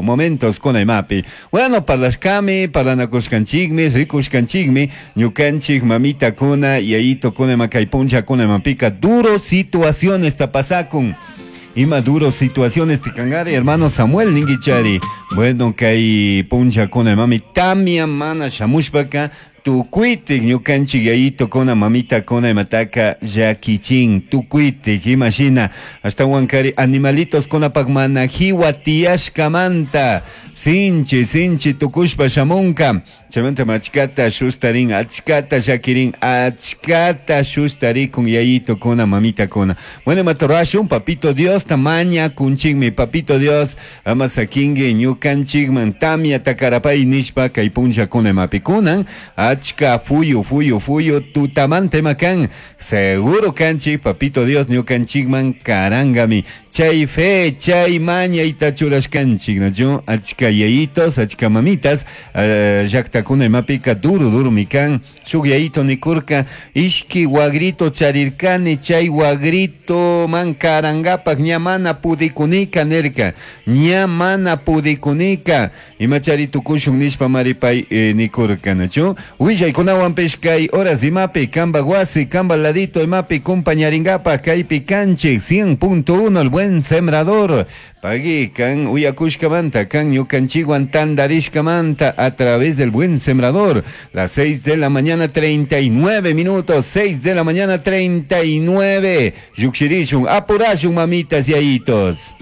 Momentos kuna imapi. Bueno, parlashkami, parlanakushkanchikmi, rikushkanchikmi, ñukanchik mamitakuna, yayitokuna ima kay punllakuna imapika duro situacionesta pasakun. Ima duro situaciones tikangari, hermano Samuel ninguichari. Bueno, kay punllakuna imami tamia mana shamushpaka tukuitik ñukanchik yayitokuna mamitakuna imataka llakichin tukuitik imashina ashtawankari animalitos kunapak mana jiwa tiyashkamanta sinchi sinchi tukushpa shamunka chaymanta achkata shustarin achkata llakirin achkata shustarikun yayitokuna mamitakuna. Bueno, imata rurashun papito Diosta mañakunchikmi. Papito Dios ama sakinki ñukanchikman tamyata karapay nishpa kay punllakuna imapi kunan achka fuyu fuyu fuyu tutamanta ima kan seguro kanchik papito Dios ñukanchikman karangami chay fe chay mañayta churashkanchik nachu achka yayitos achka mamitas llaktakuna imapika duro duro kan shuk yayito nikurka ishki wagrito charirkani chay wagrito man karangapak ña mana pudikunika nirka ña mana pudikunika imachari tukushun nishpa maripay nikurka nachu willaykunawanpish kay horas imapi kamba wasi kamba ladito imapi compañaringapak kaypi kanchik 100.1 El Buen Sembrador. Pagui kan uyakushkamanta kan ñukanchikwan tandarishkamanta a través del Buen Sembrador. Las 6 de la mañana 39 minutos, 6 de la mañana 39. Yukshirishun, apurashun mamitas y ayitos.